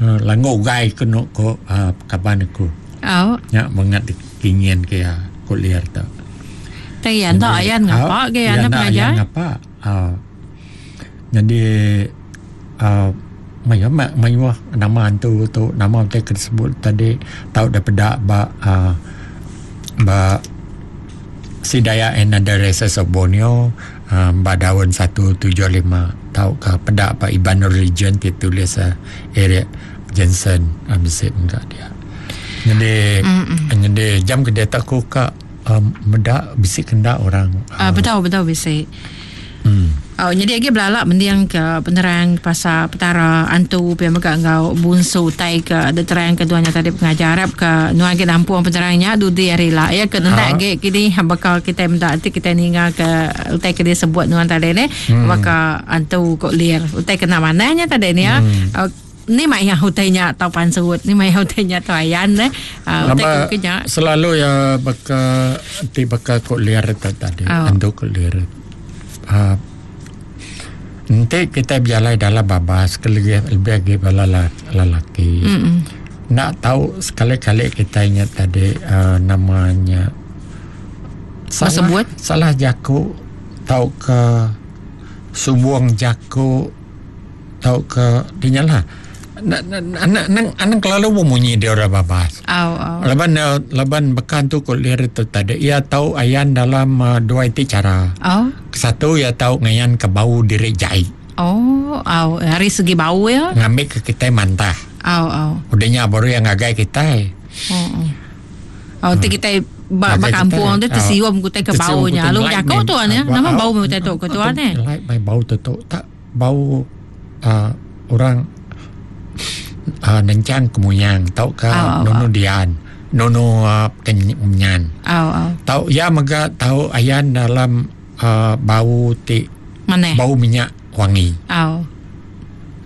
uh, langgo gai kena ko uh, kaban aku. Oh. Nya mengat kingin ke ya kok liar tu. Tai anda ayan ngapa ke anda pengajar? Ngapa? Uh, jadi uh, Maya mayuh nama hantu tu nama utai tersebut tadi tahu dah pedak ba uh, ba Sea Dayak and Other Races of Borneo uh, ba daun satu tujuh lima tahu ke pedak ba Iban Religion ditulis uh, Eric Jensen ambil enggak dia. Jadi mm-hmm. jadi jam ke dia tak ku ka um, medak bisik kendak orang uh, uh, betul betul bisik. Hmm. Oh, jadi lagi belalak mendiang ke penerang pasal petara antu pia mega ngau bunsu tai ke ada terang keduanya tadi pengajar Arab ke nuan ke nampung penerangnya dudi hari lah ya ke nendak ge kini bakal kita minta nanti kita ninga ke utai ke dia sebut nuan tadi ni hmm. bakal antu kok liar utai kena mananya tadi ni ya hmm. uh, ni mak yang utainya tau pansut ni mak yang utainya tau ayan ne uh, utai ke kenya selalu ya bakal ti bakal kok liar tadi oh. Antu kok liar uh, nanti kita berjalan dalam babas lebih lebih bala lelaki. Mm-mm. Nak tahu sekali-kali kita ingat tadi uh, namanya salah sebut? Salah jaku tahu ke subuang jaku tahu ke dinyalah anak anak anak kelalu bunyi dia orang babas. Oh, oh. Laban laban bekan tu kulir tu tadi ia tahu ayan dalam uh, dua itu cara. Oh. Satu ia tahu ngayan ke bau diri jai. Oh, oh, hari segi bau ya. Ngambil ke kita mantah. Oh, oh. Udahnya baru yang ngagai kita. Oh. Oh, oh hmm. kita ba, ba kampung tu tersium kita ke baunya. Lalu jago tu ya. Nama bau kita tu ke tuan eh. Like bau tu tu tak bau uh, orang Uh, nencang kemuyang tau ke oh, oh, nono oh. Dian nono uh, kenyan oh, oh. Tau ya mega tau ayan dalam uh, bau ti mana bau minyak wangi oh.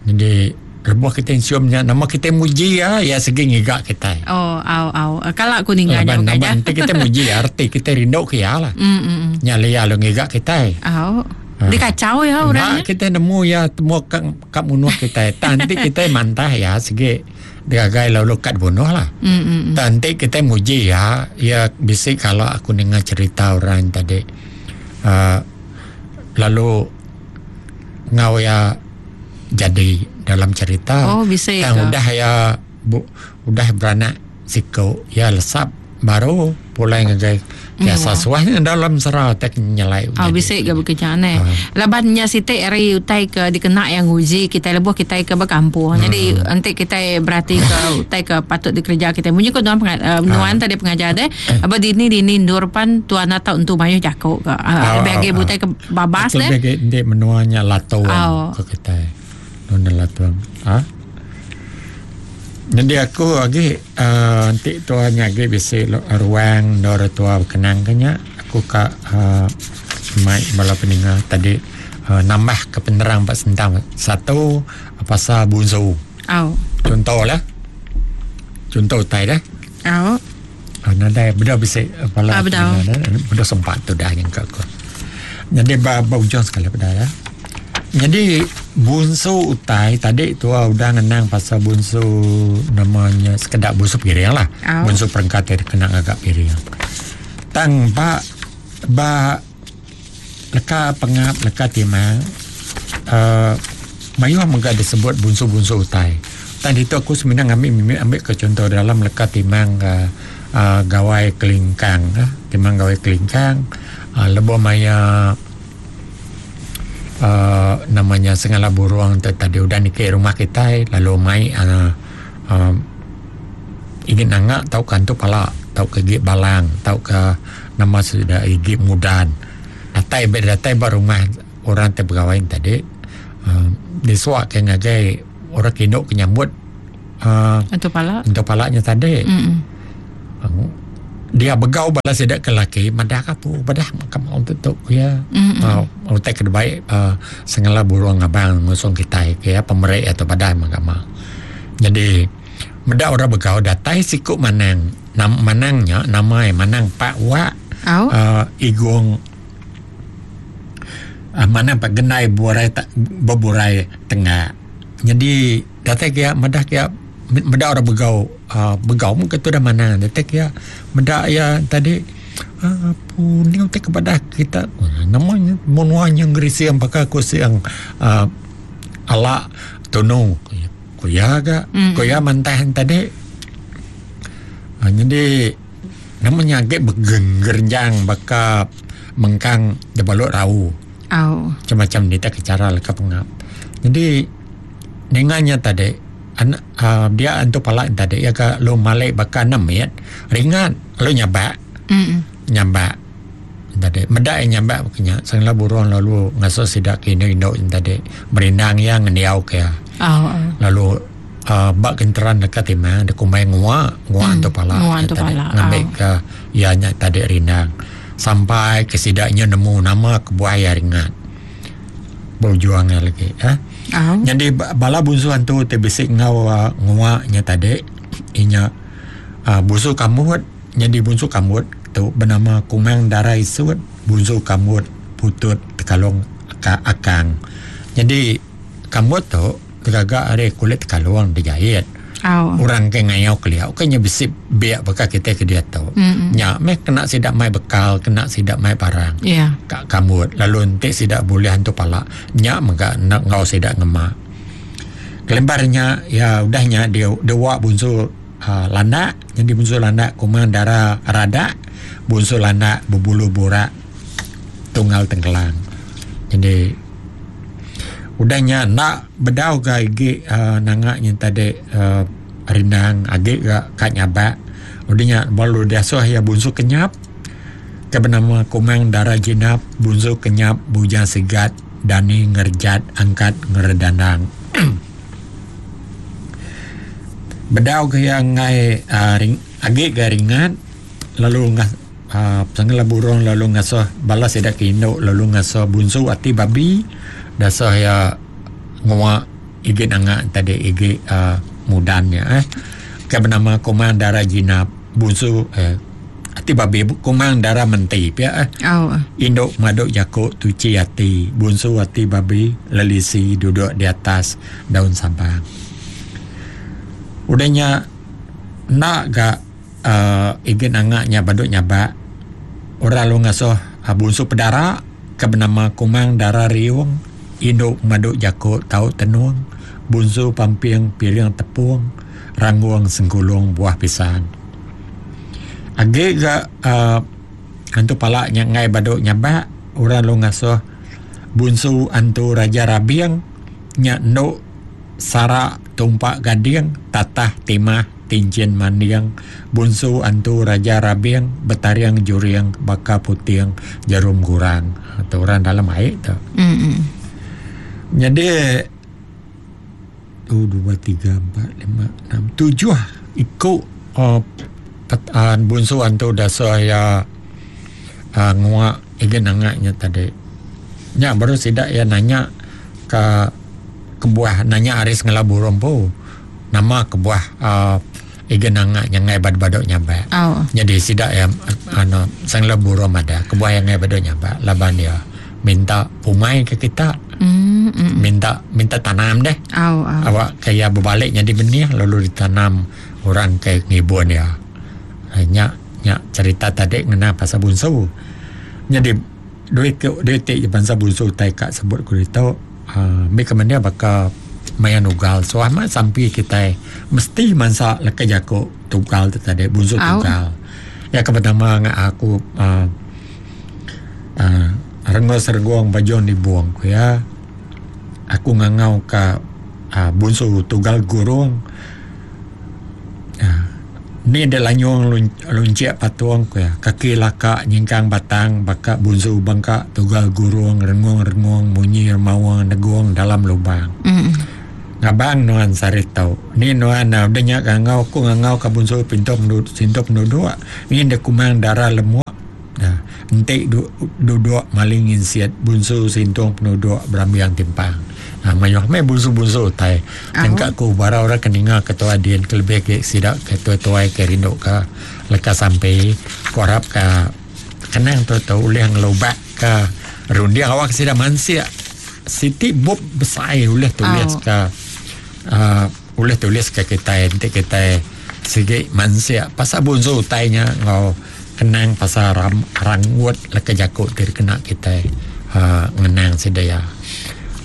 Jadi lebuh kita ciumnya nama kita muji ya ya segi ngigak kita oh au au kalau aku ninggal jauh aja kita muji arti kita rindu ke ya lah mm, mm, mm. Nyali ya lo ngigak kita oh. Dia kacau ya orangnya. Nah, kita nemu ya temu kat kat bunuh kita. Nanti kita mantah ya segi digagai lalu kat bunuh lah. Mm, mm, mm. Nanti kita muji ya ya bisik kalau aku dengar cerita orang tadi uh, lalu ngau ya jadi dalam cerita. Oh bisik. Tang udah ya bu, udah beranak siko ya lesap baru pulai ngagai biasa suahnya dalam serau tak nyelai. Oh bisik ke bekerja ne. Labannya sitik hari utai ke dikena yang uji kita lebuh kita ke berkampung. Hmm. Jadi nanti kita berarti ke utai ke patut dikerja kita. Munyi ko tuan uh, nuan tadi pengajar deh. Apa dini dini ndur pan tuan atau untuk mayu jakuk ke. Lebih agi butai ke babas deh. Lebih agi ndek menuanya latuan ke kita. Nuna latuan. Ha? Jadi aku lagi uh, nanti tuan lagi bisi ruang dora tua berkenang kenya aku ka uh, mai bala peninga tadi uh, nambah ke penerang pak sentang satu pasal bunsu. Oh. Contoh lah. Contoh tai dah. Oh. Uh, nadai benda bisi bala ah, peninga benda sempat tu dah yang aku. Jadi ba, ba ujung sekali pada ya. Jadi bunsu utai tadi tu udah ngenang pasal bunsu namanya sekedar bunsu piring lah. Oh. Bunsu perengkat yang kena agak piring. Tang ba ba leka pengap leka timang uh, mayuh mega disebut bunsu-bunsu utai. Tang itu aku sebenarnya ambil ambil ke contoh dalam leka timang uh, uh, gawai kelingkang, uh, timang gawai kelingkang, uh, lebo maya Uh, namanya sengala burung tadi udah nikah rumah kita lalu mai uh, uh, ingin nangak tau kan tu pala tau ke gig balang tau ke nama sudah gig mudan atau Datai datai ba rumah orang te begawai tadi uh, disuak ke ngagai orang kinuk ke nyambut uh, untuk pala untuk palanya tadi. Mm-mm. Uh, dia begau bala sidak ke laki madah kapu badah kamu untuk tu ya. Mm-mm. Uh, utai ke baik uh, sengala burung abang ngusung kita ya pemerik atau badah mahkamah. Jadi meda orang begau datai siku manang nam manangnya nama manang Pak Wak oh. uh, Igung uh, manang Pak Genai burai ta, beburai tengah. Jadi datai kia madah kia meda orang begau uh, begau mungkin tu dah mana datai kia meda ya tadi uh, ni utai kepada kita namanya menuanya ngerisi yang pakai kursi yang uh, ala tunu kuya ga mm. kuya mantahan tadi uh, jadi namanya agak bergenggerjang baka mengkang debalok rau oh. macam-macam ni tak cara leka pengap. Jadi dengannya tadi anak uh, dia antu pala tadi ya ka lu malik baka nemit ringan lu nyabak mm. nyabak tadi medak nyabak kenya sangla burung lalu ngaso sidak kini induk tadi merindang yang ngendiau ke oh, oh. Lalu uh, bak kenteran dekat timang de kumai ngua ngua mm. antu pala tadi ngambil oh. ke ianya tadi rindang sampai ke sidaknya nemu nama kebuah ya ringan berjuang lagi eh Oh. Jadi bala bunsu hantu te bisik ngau uh, nguaknya tadi inya uh, bunsu kamut. Jadi bunsu kamut tu bernama Kumang Dara Isut, bunsu kamut putut tekalong ka akang. Jadi kamut tu tergagak ari kulit tekalong dijahit. Oh. Orang ke ngayau keliau kenya bisik biak bekal kita ke dia tu. Mm-hmm. Nya meh kena sidak mai bekal, kena sidak mai barang. Yeah. Kak kamut lalu nanti sidak boleh hantu pala. Nya mega nak ngau sidak ngemak. Kelembarnya ya udahnya dia dia wak bunsu uh, landak, jadi bunsu landak Kumang Dara Radak, bunsu landak berbulu burak tunggal tengkelang. Jadi udahnya nak bedau ga igi uh, nangaknya tadi uh, rindang agik ga kat nyabak. Udahnya baru dia suah ya bunsu kenyap ke bernama Kumang Dara Jinap, bunsu kenyap bujang sigat dani ngerjat angkat ngeredandang. Bedau ke yang ngai uh, ring, agik ga ringan lalu ngas uh, sangla burung lalu ngasuh balas sidak induk lalu ngasuh bunsu ati babi dasah ya ngua igi nangak tadi igi uh, mudannya eh ke bernama Kumang Dara Jinap, bunsu eh ati babi Kumang Dara Menti pia eh oh. Induk maduk jakuk tuci ati bunsu ati babi lelisi duduk di atas daun sabang. Udahnya nak ga uh, igi nangaknya baduk nyabak orang lu ngasuh uh, bunsu pedara ke bernama Kumang Dara Riung, induk maduk jakuk tau tenung, bunsu pamping piring tepung, rangguang sengkulung buah pisang. Agak ga uh, antu palaknya ngai baduk nyabak orang lu ngasuh bunsu antu raja rabiang nyak nduk sarak tumpak gading tatah timah tincin mandiang, bunsu antu raja rabiang betariang juriang baka putiang jarum gurang. Atau orang dalam air tu. Mm-mm. Jadi tu dua tiga empat lima enam tujuh ikut uh, uh, bunsu antu dasar ya uh, nguak igen nangaknya tadi. Nya baru sidak ya nanya ke kebuah nanya aris ngelabu rompo nama kebuah uh, igen nangaknya ngai bad-badok nyabak. Oh. Jadi sidak ya ano sang lebu rom ada kebuah yang ngai badok nyabak laban dia minta pumai ke kita. Mm, mm. Minta minta tanam deh. Oh, oh. Awak kayak berbaliknya di benih lalu ditanam orang kayak ngibun ya. Nyak nyak cerita tadi ngena pasal bunsu. Jadi duit duit ti bangsa bunsu tai kak sebut ku itu uh, mi kemana bakal mayan ugal so amat sampai kita mesti mansa leka jako tugal tu tadi bunsu tugal. Ya pertama ngak aku uh, uh, rengos reguang bajon dibuang ku ya. Aku ngangau ka uh, bunsu tugal gurung. Uh, Ni dia lanyung luncik patung ku ya. Kaki laka nyingkang batang baka bunsu bangka tugal gurung rengung-rengung munyi mawang negung dalam lubang. Mm. Ngabang nuan saritau. Ni nuan udah nya ngangau aku ngangau ka bunsu pintu penduduk sintu penduduk. Ni dia kumang darah lemuk. Nah, entik du, duduk maling insiat bunsu sintung penduduk berambiang timpang. Nah, mayuh mai bunsu-bunsu utai. Tengkak ku bara orang keninga ketua dien ke lebih ke sidak ketua-tuai ke rindu ke leka sampai ku harap ke kenang tu tu ulih ngelubak ke rundiang awak sidak mansia siti bub besar ulih tulis oh. ke uh, ulih tulis ke kita nanti kita sigi mansia pasal bunsu utainya ngau kenang pasal ram, ranggut leka jakut diri kena kita uh, ngenang sidaya.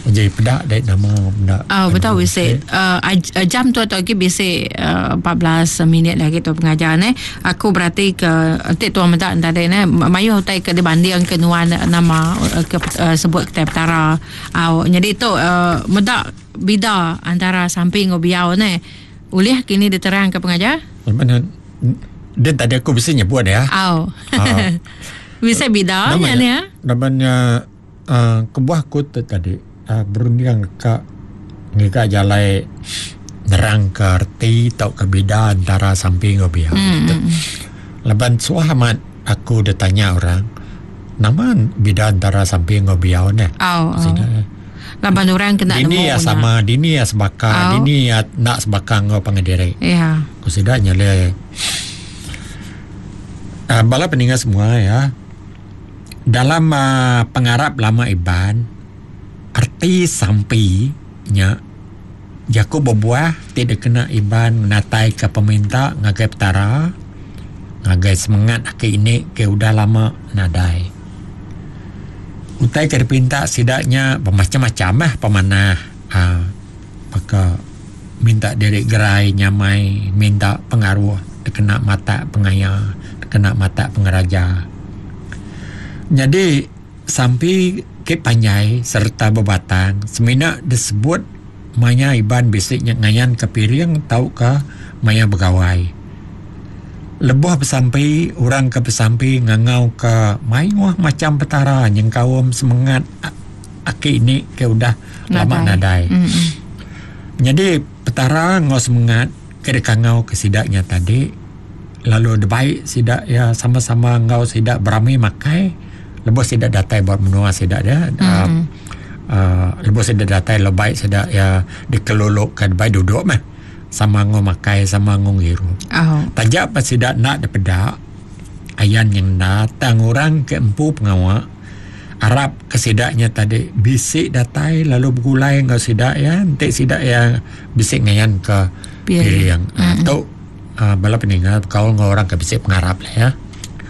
Jadi pedak dek nama benda. Oh betul bisi uh, jam tu atau lagi bisi uh, empat belas minit lagi tu pengajar ne. Aku berarti ke entik tuan mendak tadi ne mayuh utai ke dibanding ke nuan nama ke uh, sebut kita petara. Oh, jadi tu uh, mendak bida antara samping ngau biau ne. Ulih kini diterang ke pengajar? Mana dia tadi aku bisa nyebut ya. Oh. Uh, bisa bida nya ni ya. Namanya uh, kebuah aku tu tadi. Uh, berunding ke ngika jalai nerang ke erti tau ke beda antara samping ngau biau. Mm. Laban suah amat aku dah tanya orang nama beda antara samping ngau biau ne. Oh, oh. Laban orang kena dini ya sama, dini ya sebaka, oh. Dini ya nak sebaka ngau pangadiri. Ya. Yeah. Aku sudah nyale. Uh, bala peninga semua ya. Dalam uh, pengarap lama Iban arti sampi nya jaku berbuah tidak kena Iban natai ke peminta ngagai petara ngagai semangat aki ini ke udah lama nadai utai ke dipinta sidaknya bermacam-macam lah pemanah ha, maka minta diri gerai nyamai minta pengaruh kena mata pengaya kena mata pengeraja. Jadi sampi ke panjai serta bebatang semina disebut maya Iban bisiknya ngayan ke piring tau ke maya begawai. Lebuh besampi orang ke besampi ngangau ke mayuh macam petara nyengkaum semangat aki ini ke udah nadai. Lama nadai. Mm-hmm. Jadi petara ngau semangat ke dekangau ke sidaknya tadi lalu debaik sidak ya sama-sama ngau sidak berami makai. Lebuh sidak datai buat menua sidak dia mm-hmm. uh, uh, lebuh sidak datai lebaik sidak ya dikelolokkan baik duduk mah sama ngau makai sama ngau ngiru. Oh. Tajak pas sidak nak depedak ayan yang datang orang ke empu pengawak Arab ke sidaknya tadi bisik datai lalu bergulai ngau sidak ya entik sidak ya bisik ngayan ke piring. Mm-hmm. Atau uh, bala peninggal kau ngau orang ke bisik pengarap lah ya.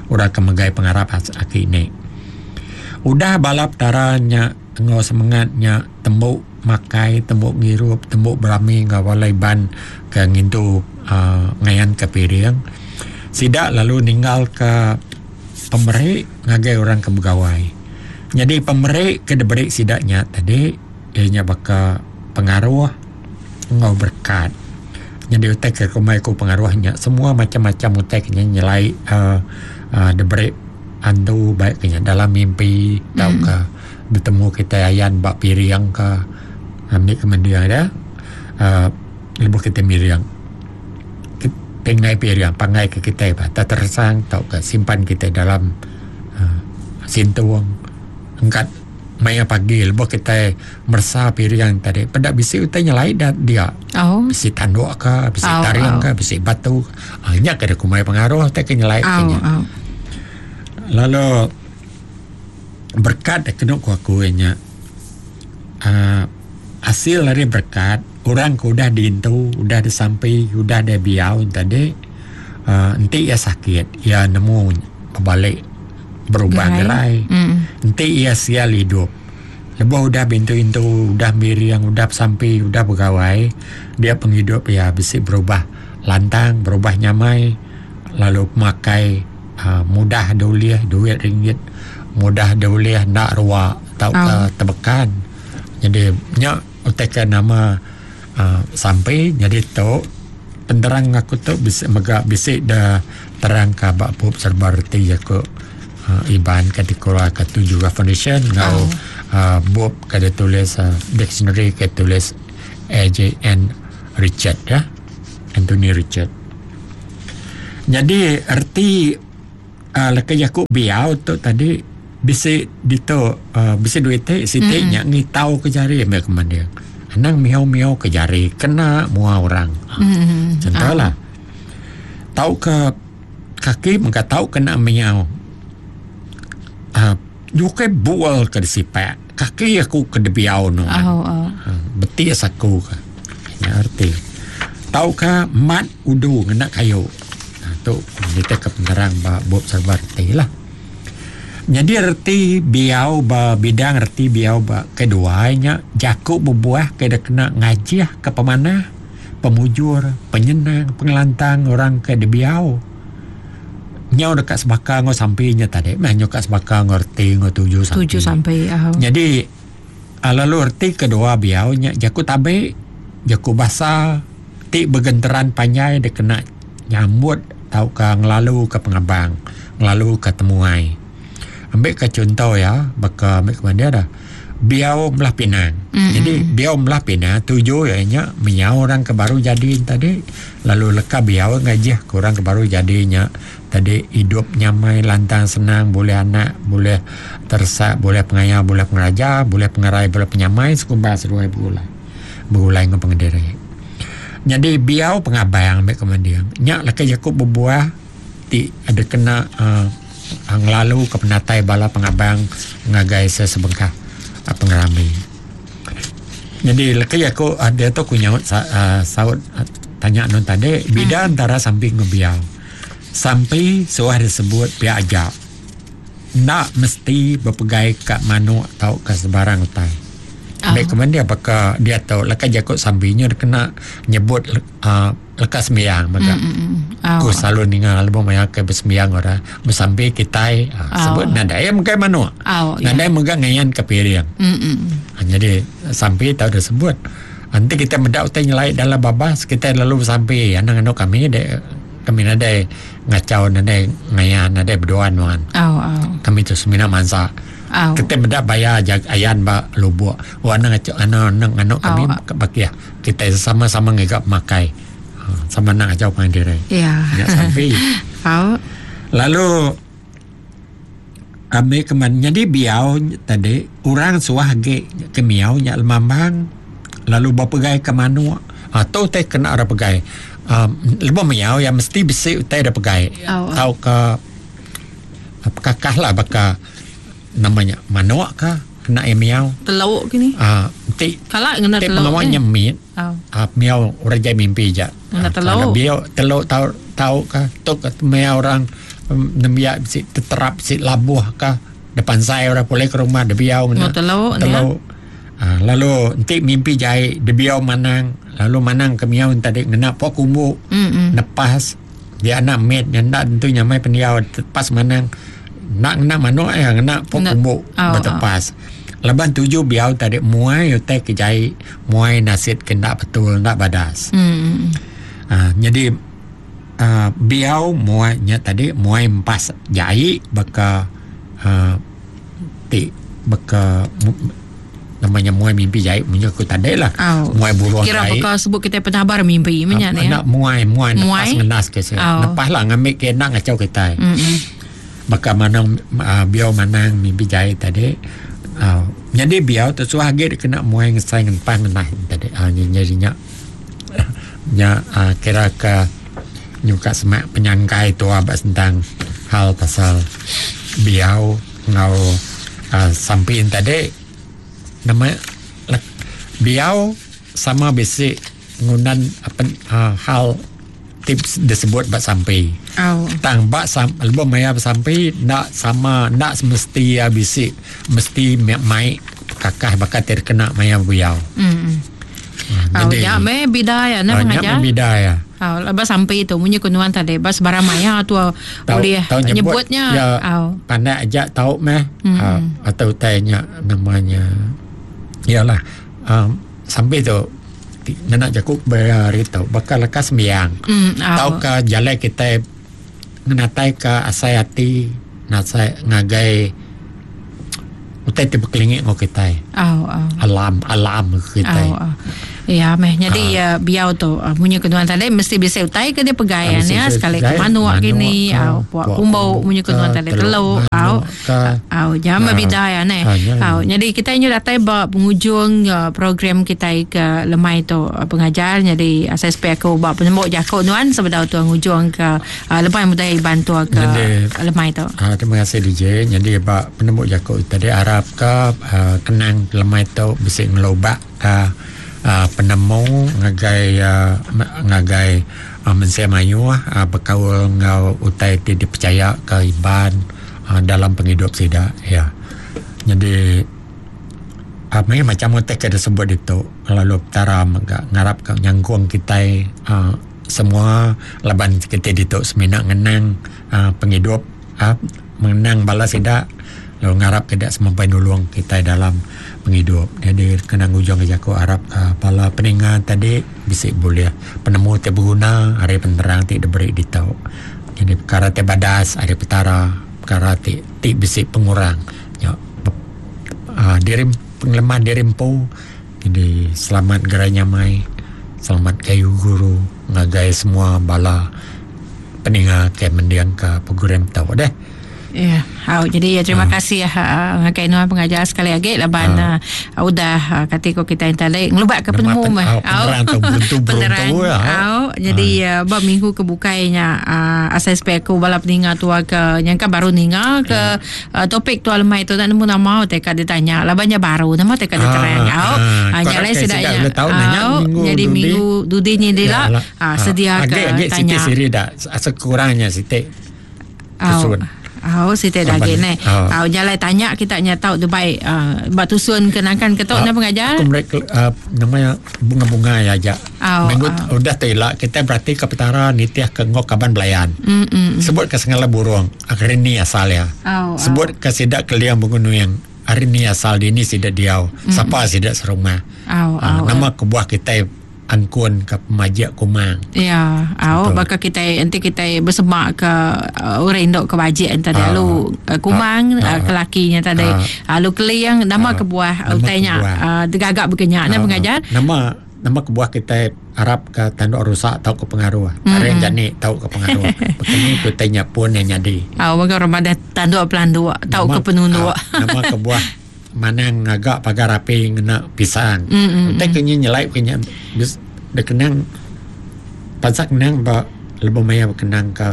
Orang ke megai pengarap aki ini. Udah balap taranya ngau semangatnya tembuk makai tembuk ngirup tembuk berami ngau walai ban ke ngintu uh, ngayan ke piring sidak lalu ninggal ke pemerik ngagai orang ke begawai. Jadi pemerik ke diberi sidaknya tadi ianya baka pengaruh ngau berkat. Jadi utai ke kumai ku pengaruhnya semua macam-macam utai kenya nyelai uh, uh, diberi andu baik kenya dalam mimpi mm. tau ke bertemu kita ayan bak piring ke ambil kemendiang dia uh, lebuh kita miriang pengai piring pangai ke kita bah tak tersang tau ke simpan kita dalam uh, sintuang angkat maya pagi lebuh kita mersa piring tadi pedak bisi utai nyelai dah dia oh. Bisi tanduk ke bisi oh, tariang oh. ke bisi batu uh, nya ke kumai pengaruh tak ke nyelai oh, kenya oh. Lalu berkat kena ku aku nya uh, hasil dari berkat orang ke udah diintu udah disampai udah dia biau tadi uh, enti ia sakit ia nemu balik berubah gerai, gerai. Mm. Enti ia sial hidup lebuh udah bintu-intu udah miriang udah sampai udah begawai dia penghidup ya bisi berubah lantang berubah nyamai lalu pemakai uh, mudah dulih duit ringgit mudah dulih nak ruak tau ke oh. tebekan. Jadi nya utekan nama uh, sampai jadi tu Penerang aku tu bisa mega bisi da terang ka ba bup serba reti jaku uh, Iban ke dikeluarkan tu juga foundation ngau oh. uh, bup ke ditulis uh, dictionary ke tulis A J N Richard ya, Anthony Richard. Jadi erti uh, leka jaku biau tu tadi bisi dito uh, bisi duit te siti nya mm-hmm. ngitau ke jari ambil ke manding. Anang miau-miau ke jari kena mua orang. Mm-hmm. Contohlah. Tau ke kaki mengka tau kena miau. Ah, uh, jukai bual ke disipak. Kaki aku ke debiau no. Oh, oh. Uh, betis aku ke. Nya arti. Tau ke mat udu ngena kayu. Nah, tu kita ke penerang ba bup serba reti lah. Jadi reti biau ba bidang reti biau ba kedua nya jaku bebuah ke dah kena ngajih ke pemanah, pemujur, penyenang, pengelantang orang ke dibiau. Nyau dekat sebaka ngau sampai nya tadi, meh nyau kat sebaka ngau reti ngau tuju sampai. Tuju sampai. Uh. Jadi lalu reti kedua biau nya jaku tabe, jaku basa ti bergenteran panjai dia kena nyambut tau ke ngelalu ke pengabang, ngelalu ke temuai. Ambil ke contoh ya, baka ambil ke mana dah. Biau belah Pinang. Mm-hmm. Jadi biau belah Pinang tuju ya nya miau orang ke baru jadi tadi, lalu leka biau ngajih ke orang ke baru jadinya tadi hidup nyamai, lantang, senang, boleh anak, boleh tersak, boleh pengaya, boleh pengeraja, boleh pengerai, boleh penyamai, sekumbal seduai bergulai. Bergulai dengan pengendiri. Jadi biau pengabang ambil ke mana nya leka jaku berbuah ti ada kena uh, ngelalu ke penatai bala pengabang ngagai sesebengkah pengerami. Jadi leki aku ada tu ku nyaut uh, saut uh, tanya nun tadi bida hmm. antara samping ngebiau. Sampai suah disebut pihak ajak. Nak mesti berpegai kat manuk atau ke sebarang utai. Oh. Baik kemudian dia apakah dia tahu leka jakut sambinya dia kena nyebut uh, leka sembiang maka. Mm, mm, mm. Oh. Ku selalu ninga album maya ke bersembiang orang bersambi kitai uh, Oh. sebut nadai megai manuk. Oh, ya. Nadai megai ngayan ke piring. Mm, mm. Ha, jadi sampai tahu dah sebut. Nanti kita mendak utai nyelai dalam babas kita lalu bersambi anak-anak kami de, kami nadai ngacau nadai ngayan nadai berdoan wan. Oh, oh. Kami tu semina mansa. Oh. Kita mendak bayar jag ayan ba lubuk. Oh anak ngacau anak anak anak kami Oh. bakia. Kita sama-sama ngegap makai. Sama nak ngacau pandiri. Ya. Ya sampai. Oh. Lalu ambil keman jadi biau tadi orang suah ge ke miau nya lemambang lalu berpegai ke manuk atau teh kena ada pegai. Um, lebuh miau yang mesti besi utai ada pegai. Oh. Tau ke kakah lah baka namanya manuk ke kena air miau. Teluk kini. Ah, ti Kalau kena ti teluk. pengawa eh. nyemit. Oh. Ah, miau orang jai mimpi je. Kena Ah, teluk. kalau biau teluk tau tau ke tok ke miau orang um, nembiak si terap si labuh ke depan saya orang boleh ke rumah dia biau Kena kena teluk ni. teluk. Ah, lalu nanti mimpi jai dia biau manang lalu manang ke miau tadi kena pok kumbu Mm mm. nepas dia anak med yang nak tentu nyamai pendiau tepas manang nak kena manuk ya kena pok Kena- kumbu Oh, bertepas. Laban tuju biau tadi muai utai ke jai muai nasid kena betul nak badas. Mm mm. Ha, jadi uh, biau muai nya tadi muai empas jai baka uh, ti baka mu, namanya muai mimpi jai punya aku tadi lah. Oh. Muai burung Kira jai. apakah sebut kita penabar mimpi punya ni. Nak muai muai nepas Muai? ngenas ke saya. Oh. Nepas lah ngambil ke nak ngacau kita. Mm mm. Baka manang uh, biau manang mimpi jai tadi. Uh, jadi biau tu suah ge kena muai ngesai ngenpas ngenah tadi. Ah uh, jadi nya nya uh, kira ke nyuka semak penyangkai tu abak tentang hal pasal biau ngau uh, sampin tadi nama le, biau sama bisi ngunan apa uh, hal tips disebut bak sampai Oh. tang bak sam lebuh maya sampai nak sama nak semesti ya bisi mesti mai kakah bakal terkena maya biau. Mm mm. Ha, Oh, ya me bida ya ah, nak nya mengajar. me bida ya. Oh, lepas sampai itu munyi kunuan tadi bas barang maya tu Tau, boleh tau nyebut, nyebutnya. Ya, Oh. pandai aja tau meh Mm. uh, atau tanya namanya. Iyalah um, sampai tu ngena jaku hari tu bakal leka sembiang mm, tau ke jalai kita ngenatai ke asai ati nasai ngagai utai ti bekelingi ngau kita. Oh, oh. Alam alam kita. Oh, oh. Ya meh jadi uh, biau tu uh, munyi kenuan tadi mesti bisa utai ke dia pegai ya sekali ke manuk gini au puak kumbo munyi kenuan tadi teluk au au jam bida ya ne. Au jadi kita nyu datai ba penghujung uh, program kita ke lemai tu uh, pengajar jadi S S P aku ba penemu jakuk nuan sebedau tu ngujung ke uh, lemai budaya Iban tu ke jadi, lemai tu. Uh, terima kasih D J. Jadi ba penemu jakuk tadi harap ke uh, kenang lemai tu bisa ngelobak ke Uh, penemu ngagai uh, ngagai uh, mensia mayuh uh, berkaul ngau utai ti dipercaya ke Iban uh, dalam penghidup sida ya. Jadi uh, mai macam utai ke disebut itu lalu petara ngarap ke nyangkung kita uh, semua laban kita ditu semina ngenang uh, penghidup uh, mengenang bala sida lalu ngarap kedak semampai nulung kita dalam penghidup. Jadi kena ngujung ke jaku harap uh, bala peningan tadi bisik boleh penemu ti berguna hari penerang ti diberi ditau. Jadi perkara ti badas hari petara perkara ti ti bisik pengurang ya uh, diri penglemah diri empu. Jadi selamat gerai nyamai, selamat kayu guru ngagai semua bala peninga ke mendiang ke program tau deh. Ya, yeah. Oh, jadi ya, terima uh. kasih ya ngagai nuan pengajar sekali lagi laban uh. uh, udah uh, kata ko kita tadi ngelubak ke penemu mah. Penerang tu beruntu-beruntu ya. Oh, jadi uh, bab minggu ke bukainya uh, asal spek aku bala peninga tua ke nyangka baru ninga ke uh, topik tua lemai tu tak nemu nama teka ditanya labannya baru nama teka diterang. Oh, nyalai sedaknya. Jadi minggu dudi ni dia lah sedia ke tanya. Siti siri dah sekurangnya siti. Oh. Oh, siti lagi ni. Oh, jalai tanya kita nya tahu Dubai uh, bak tusun kenangkan ketok uh, pengajar. Aku mereka uh, namanya bunga-bunga ya aja. Oh, minggu oh. Udah telak kita berarti ke petara nitiah ke ngok kaban belayan. Mm, mm, mm. Sebut ke sengala burung hari ni asal ya. Oh, Sebut oh. ke sidak keliang bunga nuyang hari ni asal di ni sidak diau. Mm. Siapa sidak serumah. Oh, uh, oh, nama kebuah kita angkun ke pemajak kumang. Ya, au bakal kita nanti kita bersemak ke uh, orang induk ke wajib tadi uh, lalu uh, kumang uh, uh, kelakinya tadi uh, lalu keliang nama uh, kebuah utainya uh, gagak berkenyak uh, nah pengajar. Nama nama kebuah kita harap ke tanduk rusak tau ke pengaruh. Mm-hmm. Areng jani tau ke pengaruh. Begini kutainya pun yang jadi. Au bakal Ramadan tanduk pelanduk tau ke penunduk. Uh, nama kebuah manang agak pagar api ngena pisang. Mm-hmm. Utai kenya nyelai kenya dia kenang pasak kenang ba lebih maya kenang ke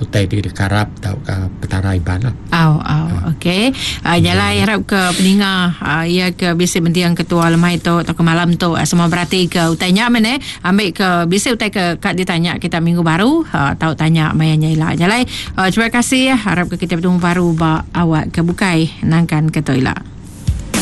utai di dekarap tau ke petara Iban lah. Au au okey. Uh, jalai harap ke peninga uh, ia ke bisi mendiang ketua lemai tu atau ke malam tu uh, semua berarti ke utainya mana ambil ke bisi utai ke kat ditanya kita minggu baru uh, tau tanya mayanya ila. Jalai uh, terima kasih harap ke kita bertemu baru ba awak ke bukai nangkan ke tu ila.